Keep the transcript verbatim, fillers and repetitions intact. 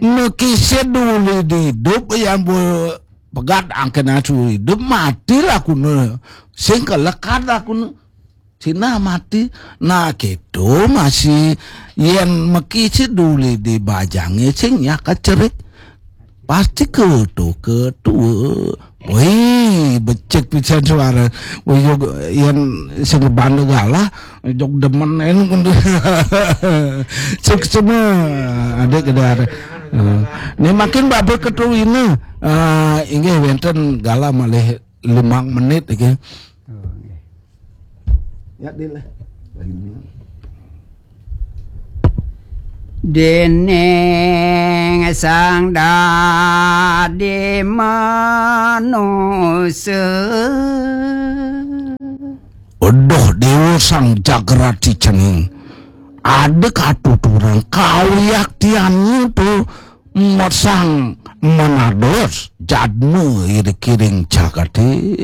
Mekisid duli di idup, yan bu pegat angkena su idup, mati lakune. Sing kelekat lakune. Sina mati. Nah, gitu masih, yen mekisid duli di bajange sing nyak kecerik. Pasti ketu ketu. Wih, becik pisan suara. Wih, yo, yen sing banda galah, jog demen en kundu. Suksema, adik kedar. Eh, Ni makin babe ketu ini. Eh, inggih wenten galah malih limang menit iki. Ya, Dil. Dening sang dadi manusa. Aduh, Dewa Sang Jagrati Cening. Ada katuturan kawiaktiannya tu masang menados jadma iri kiring jagate.